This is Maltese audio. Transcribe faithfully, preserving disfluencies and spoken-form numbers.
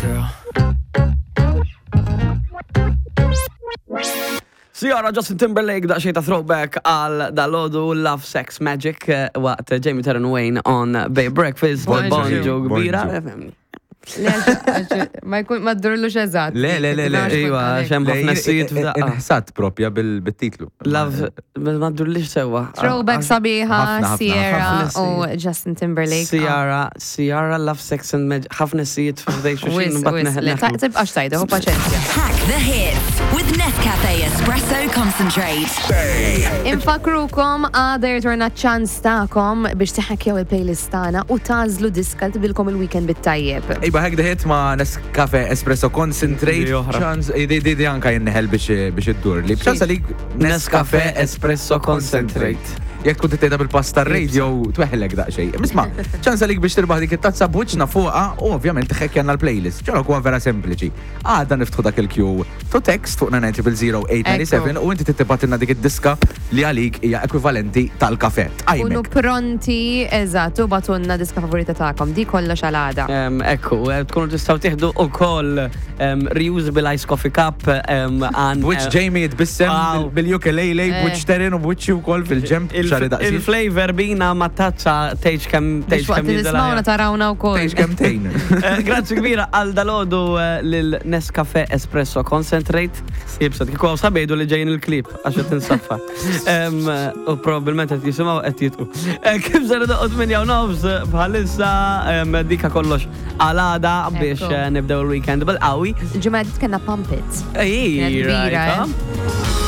Girl. Ciara, Justin Timberlake, daqsxejn ta' throwback għal dalgħodu, Love Sex Magic, eh, waqt Jamie Taryn Wayne on Bay Breakfast. Bonġu. Bonġu kbira. Bonġu. Le, għax- Ma jkun ma ddurlux eżatt. Le, le, le, le. Iva, xem ħafna sijiet f'daqqa. Inħsat propja bil- bit-titlu. Love, ma ddurlix sewwa. Throwback sabiħa, Ħafna, ħafna, Sierra ħafna u Justin Timberlake. Ciara, Ciara, Love Sex and Magic, ħafna sijiet f'dej Wis, xuxin. wis, le, ta- tibqax tajda, hu paċenzja. Hack the hits with Nescafe Espresso Concentrate. Infakrukom għada jirtorna ċans tagħkom biex tiħakjaw il-playlist tagħna u tażlu diska li tbilkom il-weekend bit-tajjeb. Iba hack the hit ma' Nescafe Espresso Concentrate. Di oħra. Ċans, di di di anka jinneħel biex biex iddur li. Ċans għalik Nescafe Espresso Concentrate. Jekk tkun titejda bil-pasta radio tweħlek daqsxejn. Isma, ċans għalik biex tirbaħ dik it-tazza b'wiċċna fuqha u ovvjament tħekkjanna l-playlist. Ċorok huwa vera sempliċi. Għada niftħu dak il-Q to text fuq nine zero zero eight nine seven u inti tibgħatilna dik id-diska li għalik hija ekwivalenti tal-kafe. Kunu Tqajmek. pronti, eżatt, u ibagħtulna diska favorita tagħkom. Di kollox għal għada. Em, Ekku, eh, tkunu tistgħu tieħdu ukoll em, reusable ice coffee cup em, għan B'wiċċ eh, Jamie jitbissem Wow. bil-ukulele, Eh. b'wiċċ Terin u b'wiċċi wkoll fil-ġemp il- xari daqsi. Il-flavor bina ma tazza tgħidx kemm Biex tgħidx waqt kemm li tismawna tarawna wkoll. Tgħidx kemm tgħin. Eh, Grazzi kbira għal dalgħodu eh, lil Nescafe Espresso Concentrate. Jibsat, kieku għaw sabejdu li ġejjin il-klip għax qed insaffa. Em, eh, U probabbilment qed jisimgħu qed jitqu. Eh, Kif ser doqgħod minn jew nofs eh, bħalissa em, dika kollox għal għada biex Ekku. eh, nibdew il-weekend bil-qawwi. Il-ġimgħa kellna Pump It. Ej, Kienet kbira, right, eh? huh?